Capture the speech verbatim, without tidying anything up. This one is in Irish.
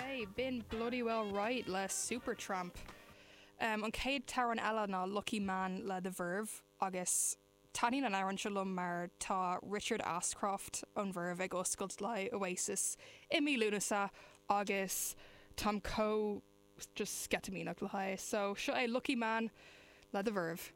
Okay, b'in Bloody Well Right le Supertramp. Um, an chéad amhrán eile ná Lucky Man le The Verve agus taitníonn an t-amhrán seo liom mar tá Richard Ashcroft ón Verve ag oscailt le Oasis i mí Lúnasa agus táim chomh just sceitimíneach le haghaidh, so seo é Lucky Man le The Verve.